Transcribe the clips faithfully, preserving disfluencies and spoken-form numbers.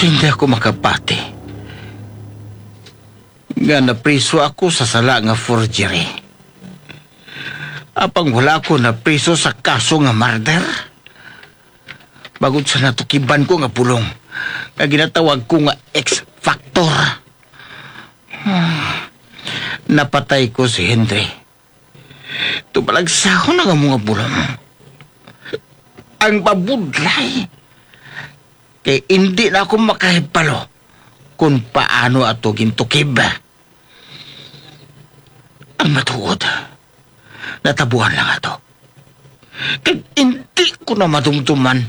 Hindi ako makapati nga napriso ako sa sala nga forgery. Apang wala ako napriso sa kaso nga murder. Bangod sa natukiban ko nga bulong nga ginatawag ko nga X Factor. Napatay ko si Henry. Tubalagsahon ang among bulong. Ang mabudlay, kay indi na ako makahibalo kung paano ato gintukib. Ang matuod, natabuan lang ato. Kag indi ko na madumduman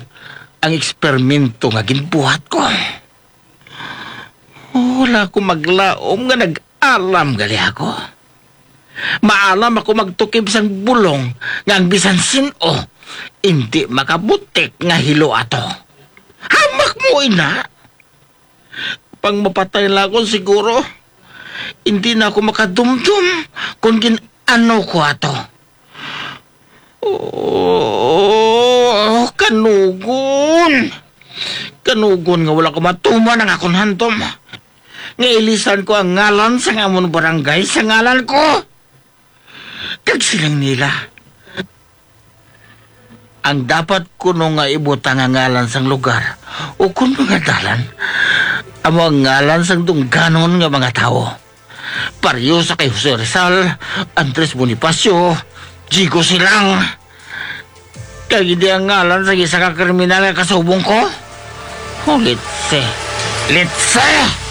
ang eksperimento nga ginbuhat ko. Wala ko maglaom nga nag-alam gali ako. Maalam ako magtukib sang bulong nga ang bisan sin-o indi makabutik nga hilo ato. Hamak mo, ina! Pang mapatay lang ako siguro, hindi na ako makadumdum kung gin-ano ko ato. Oh, kanugon! Kanugon nga wala ko matuman ang akon handom. Nga ilisan ko ang ngalan sang amon barangay sa ngalan ko. Kag siling nila, ang dapat kuno nga ibutang nga ngalan sang lugar o kon mga dalan, amo ang ngalan sang dungganon nga mga tawo. Pareho sa kay Jose Rizal, Andres Bonifacio, Jigo Silang. Kag hindi ang ngalan sa isa ka kriminal nga kasubong ko? Oh, litse. Litse!